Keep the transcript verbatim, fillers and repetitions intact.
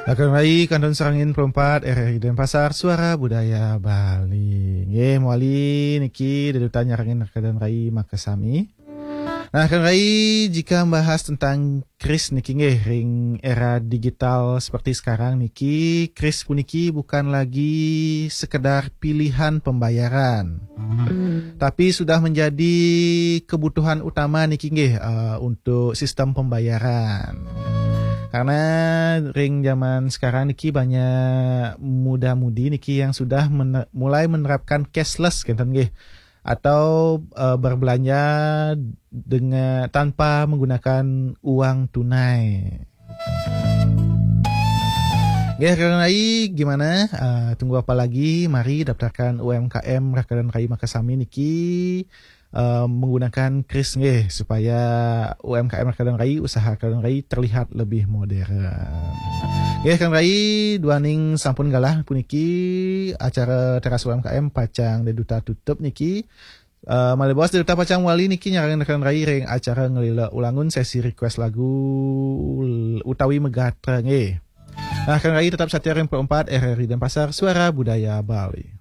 Rakan rai, kantun sareng sembilan puluh empat R R I Denpasar, Suara Budaya Bali. Nggih, mawali niki deduta nyarengin rakan rai makasami. Nah, rakan rai, jika membahas tentang kris niki nggih, ring era digital seperti sekarang niki, kris puniki bukan lagi sekedar pilihan pembayaran, tapi sudah menjadi kebutuhan utama niki nggih, eh, untuk sistem pembayaran. Karena ring zaman sekarang niki banyak muda-mudi niki yang sudah mene- mulai menerapkan cashless, kenten nggih, atau eh, berbelanja dengan, tanpa menggunakan uang tunai. Nggih, rakan rai, gimana? Eh, tunggu apa lagi? Mari daftarkan U M K M rakan rai makasami niki, eh, menggunakan kris nggih, supaya U M K M rakan rai, usaha rakan rai terlihat lebih modern. Nggih, rakan rai, duaning sampun galah puniki, acara Teras U M K M pacang deduta tutup niki. Eh, malih baos deduta pacang wali niki nyarengin rakan rai ring acara Ngelila Ulangun, sesi request lagu utawi megatra nggih. Nah, rakan rai, tetap satia ring puluh empat R R I Denpasar, Suara Budaya Bali.